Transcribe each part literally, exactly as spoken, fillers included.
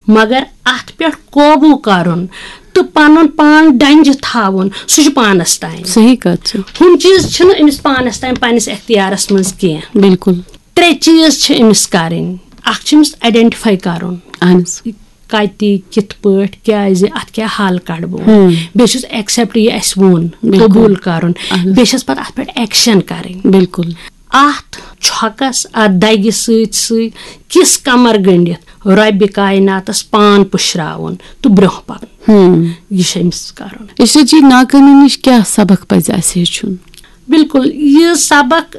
مگر اتھ پٮ۪ٹھ قوبوٗ کرُن تہٕ پنُن پان ڈنجہِ تھاوُن، سُہ چھُ پانس تام۔ صحیح کتھ چھِ۔ ہُم چیٖز چھِنہٕ أمِس پانس تام، پننِس اختیارس منٛز کینٛہہ۔ بالکل۔ ترٛےٚ چیٖز چھِ أمِس کرٕنۍ۔ اکھ چھُ أمِس آیڈینٹیفاے کرُن، اہن حظ۔ کتہِ، کِتھ پٲٹھۍ، کیازِ، اتھ کیٛاہ حل کڑٕ بہٕ۔ بیٚیہِ چھُس ایکسپٹ یہِ اسہِ ووٚن، بالکل۔ قبول کرُن۔ اہن حظ۔ بیٚیہِ چھس پتہٕ اتھ پٮ۪ٹھ ایکشن کرٕنۍ۔ بالکل۔ اتھ چھۄکس، اتھ دگہِ سۭتۍ سۭتۍ کِس کمر گٔنڈِتھ رۄبِ کایناتس پان پُشراوُن تہٕ برونٛہہ پکُن۔ ہم۔ یہِ چھُ أمِس کرُن۔ عشرت جی، ناکٲمی نِش کیٛاہ سبق پزِ اسہِ ہیٚچھُن؟ بالکل، یہِ سبق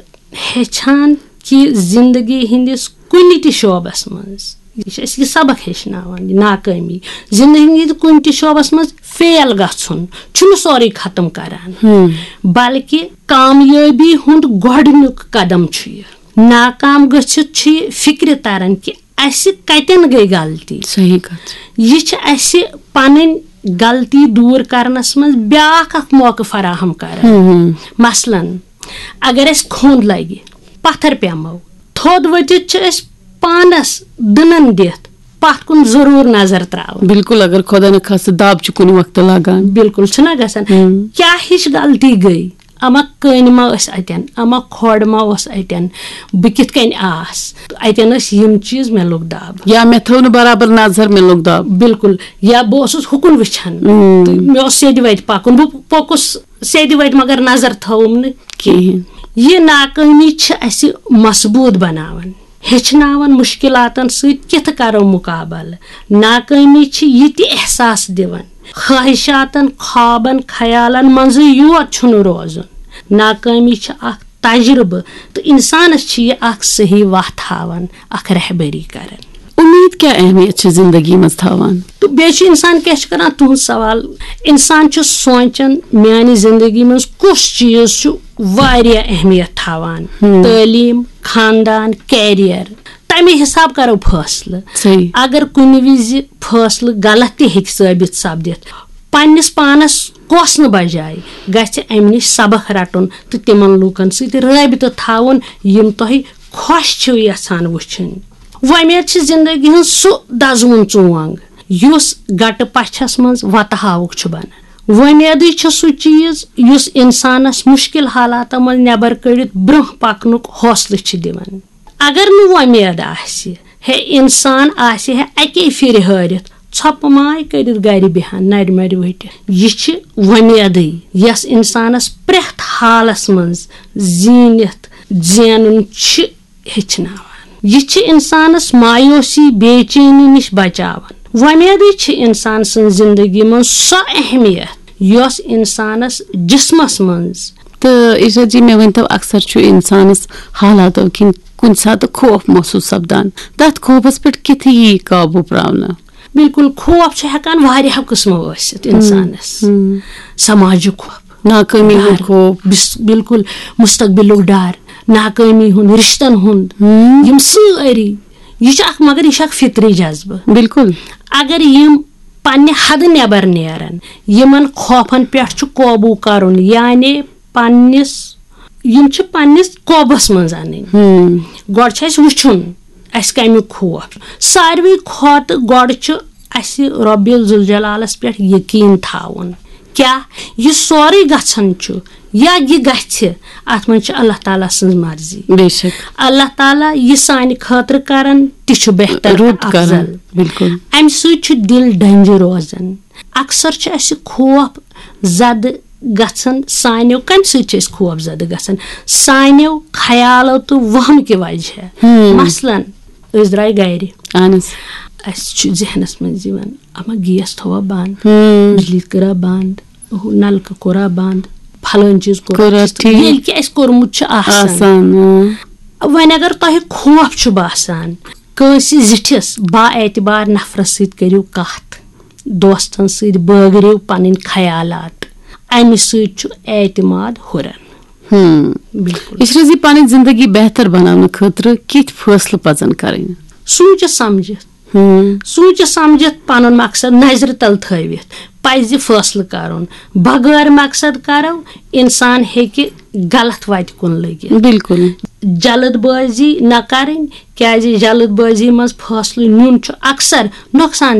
ہیٚچھان کہِ زندگی ہٕنٛدِس کُنہِ تہِ شعبس منٛز، یہِ چھِ اَسہِ یہِ سبق ہیٚچھناوان، یہِ ناکٲمی۔ زندگی ہٕنٛدِ کُنہِ تہِ شعبس منٛز فیل گژھُن چھُنہٕ سورُے ختم کران، بلکہِ کامیٲبی ہُنٛد گۄڈٕنیُک قدم چھُ یہِ۔ ناکام گٔژھِتھ چھُ یہِ فکرِ تران کہِ اسہِ کتٮ۪ن گٔے غلطی۔ صحیح کتھ۔ یہِ چھِ اسہِ پنٕنۍ غلطی دوٗر کرنس منٛز بیاکھ اکھ موقعہٕ فراہم کران۔ مثلاً، اگر اسہِ کھوٚنٛد لگہِ، پتھر پیمو، تھوٚد ؤتھِتھ چھِ أسۍ پانس دٕنن دِتھ پتھ کُن ضروٗر نظر تراوٕنۍ۔ بالکل، اگر خۄدا نخواستہٕ دب چھُ کُنہِ وقتہٕ لگان۔ بالکل چھُنہ گژھان۔ کیٛاہ ہِش غلطی گٔے؟ اما کٔنۍ ما ٲس اتٮ۪ن، اما کھۄڈ ما اوس اتٮ۪ن، بہٕ کِتھ کٔنۍ آس؟ اتٮ۪ن ٲسۍ یِم چیٖز، مےٚ لوٚگ دب۔ یا مےٚ تھٲو نہٕ برابر نظر، مےٚ لوٚگ دب۔ بالکل۔ یا بہٕ اوسُس ہُکُن وٕچھان تہٕ مےٚ اوس سیٚدِ وتہِ پکُن، بہٕ پوٚکُس سیٚدِ وتہِ مگر نظر تھٲوٕم نہٕ کِہیٖنۍ۔ یہِ ناکٲمی چھِ اسہِ مضبوٗط بناوان، ہیٚچھناوان مُشکلاتن سۭتۍ کِتھ کرو مُقابلہٕ۔ ناکٲمی چھِ یہِ تہِ احساس دِوان خواہشاتن، خوابن، خیالن منٛزٕے یوت چھُنہٕ روزُن۔ ناکٲمی چھِ اکھ تجربہٕ تہٕ انسانس چھِ یہِ اکھ صحیح وتھ ہاوان، اکھ رہبری کران۔ امید کیٛاہ اہمیت چھِ زندگی منٛز تھاوان؟ تہٕ بیٚیہِ چھُ انسان کیٛاہ چھُ کران، تُہنٛد سوال، انسان چھُ سونٛچان میانہِ زندگی منٛز کُس چیٖز چھُ واریاہ اہمیت تھاوان؟ تعلیٖم، خاندان، کیریئر، تمے حساب کرو فٲصلہٕ۔ صحیح۔ اگر کُنہِ وِزِ فٲصلہٕ غلط تہِ ہیٚکہِ ثٲبت سپدِتھ، پننِس پانس کوسنہٕ بجایہِ گژھِ امہِ نِش سبق رٹُن تہٕ تِمن لوٗکن سۭتۍ رٲبطہٕ تھاوُن، یِم تۄہہِ خۄش چھِو یژھان وٕچھِنۍ۔ وۄمید چھِ زندگی ہٕنٛز سُہ دزوُن ژونگ یُس گٹہٕ پچھس منٛز وتہٕ ہاوُک چھُ بنان۔ وۄمیدٕے چھُ سُہ چیٖز یُس انسانس مُشکل حالاتو منٛز نٮ۪بر کٔڑِتھ برونٛہہ پکنُک حوصلہٕ چھِ دِوان۔ اگر نہٕ وۄمید آسہِ ہے، انسان آسہِ ہے اکی پھرِ ہٲرِتھ، ژھۄپہٕ ماے کٔرِتھ گرِ بیہان، نرِ مرِ ؤٹِتھ۔ یہِ چھِ وۄمیدٕے، یۄس انسانس پرٛٮ۪تھ حالس منٛز زیٖنِتھ زینُن چھِ ہیٚچھناوان۔ یہِ چھِ انسانس مایوسی، بے چینی نِش بچاوان۔ وۄمیدٕے چھِ انسان سٕنٛز زندگی منٛز سۄ اہمیت یۄس انسانس جسمس منٛز تہٕ عشرت جی، مےٚ ؤنۍتو، اکثر چھُ انسانس حالاتو کِنۍ کُنہِ ساتہٕ خوف محسوٗس سپدان، تتھ خوفس پٮ۪ٹھ کِتھ یی قابوٗ پراونہٕ؟ بالکل، خوف چھُ ہٮ۪کان واریاہو قٕسمو ٲسِتھ انسانس۔ سماجُک خوف، ناکٲمی ہُنٛد ڈر، خوف۔ بس-، بالکل، مستقبلُک ڈر، ناکٲمی ہُنٛد، رشتن ہُنٛد، یِم سٲری، یہِ چھُ اکھ، مگر یہِ چھُ اکھ فطری جذبہٕ۔ بالکل۔ اگر یِم پننہِ حدٕ نٮ۪بر نیرن، یِمن خوفن پٮ۪ٹھ چھُ قوبوٗ کرُن، یعنی پننِس، یِم چھِ پننِس قوبس منٛز انٕنۍ۔ گۄڈٕ چھُ اسہِ وٕچھُن، اسہِ کمیُک خوف۔ ساروی کھۄتہٕ گۄڈٕ چھُ اسہِ رۄبِ ذوالجلالس پٮ۪ٹھ یقیٖن تھاوُن۔ کیٛاہ یہِ سورُے گژھان چھُ یا یہِ گژھِ، اتھ منٛز چھِ اللہ تعالیٰ سٕنٛز مرضی۔ بے شک۔ اللہ تعالیٰ یہِ سانہِ خٲطرٕ کران، تہِ چھُ بہتر رُت تہٕ کران۔ افضل۔ بالکل۔ امہِ سۭتۍ چھُ دِل ڈنجہِ روزان۔ اکثر چھُ اسہِ خوف زدٕ گژھان سانیو، کمہِ سۭتۍ چھِ أسۍ خوف زدٕ گژھان؟ سانیو خیالو تہٕ وہمہٕ کہِ وجہ۔ مثلاً، أسۍ درٛاے گرِ، اہن حظ۔ اسہِ چھُ ذہنس منٛز یِوان، اما گیس تھووا بند، ہم۔ بجلی کٔرا بند، ہُہ نلکہٕ کوٚرا بند، فلٲنۍ چیٖز کوٚرا کوٚرا ٹھیٖک۔ ٹھیٖک۔ ییٚلہِ کہِ اسہِ کوٚرمُت چھُ آسان۔ آسان، اۭں۔ وۄنۍ اگر تۄہہِ خوف چھُ باسان، کٲنٛسہِ زِٹھِس با اعتبار نفرس سۭتۍ کٔرِو کتھ، دوستن سۭتۍ بٲگرِو پنٕنۍ خیالات، امہِ سۭتۍ چھُ اعتماد ہُران۔ ہم۔ بالکل۔ عشرت جی، پنٕنۍ زندگی بہتر بناونہٕ خٲطرٕ کِتھۍ فٲصلہٕ پزن کرٕنۍ؟ سوٗنٛچِتھ سمجھِتھ، ہم۔ سوٗنٛچِتھ سمجھِتھ پنُن مقصد نظرِ تل تھٲوِتھ پزِ فٲصلہٕ کرُن۔ بغٲر مقصد کرو، انسان ہیٚکہِ غلط وتہِ کُن لٔگِتھ۔ بالکل۔ جلد بٲزی نہ کرٕنۍ، کیازِ جلد بٲزی منٛز فٲصلہٕ نیُن چھُ اکثر نۄقصان